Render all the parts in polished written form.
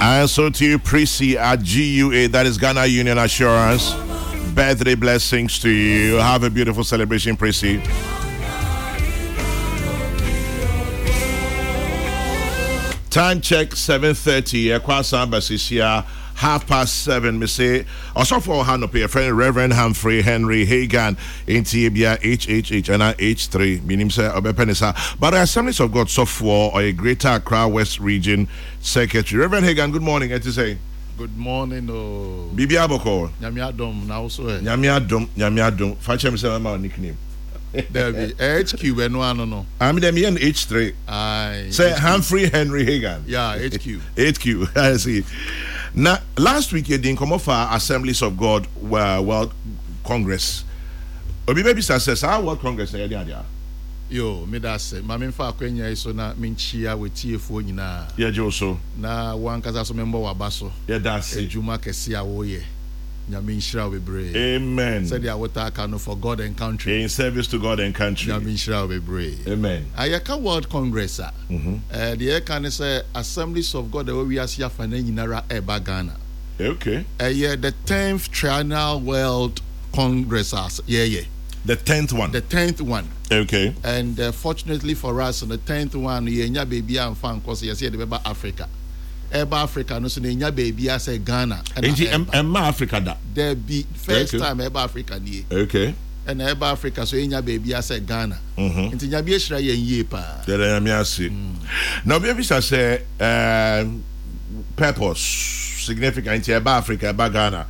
And so to you, Prissy at GUA, that is Ghana Union Assurance. Birthday blessings to you. Have a beautiful celebration, Prissy. Time check 7:30. Ekwa Basisia 7:30. Me say Osofo Hanope, a friend Reverend Humphrey Henry Hagan in Tibia HHH and H3. Meaning say Obepenisa. But the Assemblies of God software or a Greater Accra West Region Secretary. Reverend Hagan, good morning. It is a Good morning, oh. Bibi Aboko. Nyame adom na also eh. Nyame adom, Nyame adom. Fakyɛ me sɛ mama nickname. Dabi, HQ bɛno ano no. I'm the me H3. Aye. Say Humphrey Henry Hagan. Yeah, HQ. HQ. I see. Now, last week you didn't come off Assemblies of God World Congress. Obi baby says, our World Congress na yɛde adeɛ. Yo, me da ase. Ma memfa akwanya yi so na menkyia w'atiefoɔ nyinaa. Yɛgye wo so. Na wankasa so membɔ w'aba so. Yɛda ase. Adwuma kɛse a woyɛ. Nyame nhyira wo bebree. Amen. Sɛdeɛ wotaa ka no, for God and country. In service to God and country. Nyame nhyira wo bebree. Amen. Yɛka World Congress a, deɛ yɛka ne sɛ Assemblies of God a ɛwɔ wiase afa no nyinara ɛreba Ghana. Okay. Ɛyɛ the 10th Triennial World Congress a yɛyɛ. The 10th one. The 10th one. Okay. And fortunately for us, the 10th one, yɛnya baabi a mfa nkɔ sɛ yɛsɛ yɛde bɛba Africa. Ɛba Africa no so na ɛnya baabi a sɛ Ghana. Nti ɛmma Africa da? Dabi, first time ɛba Africa nie. Okay. Ɛna ɛba Africa so ɛnya baabi a sɛ Ghana. Nti Nyame ahyira yɛn yie paa. Yɛda Nyame ase. Na obi abisa sɛ purpose, significant, nti ɛba Africa, ɛba Ghana,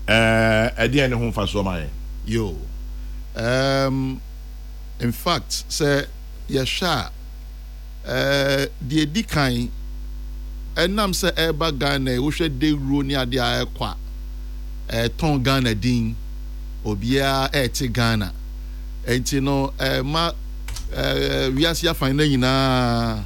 ɛdeɛn ne ho mfasoɔ ma yɛn? Yo. In fact, sɛ yɛhwɛ a, deɛ ɛdi kan, ɛnam sɛ ɛreba Ghana yi, wohwɛ dawuro ne adeɛ a ɛrekɔ a, ɛtɔn Ghana din, obiara ɛrete Ghana. Nti no, ɛma wiase afan no nyinaa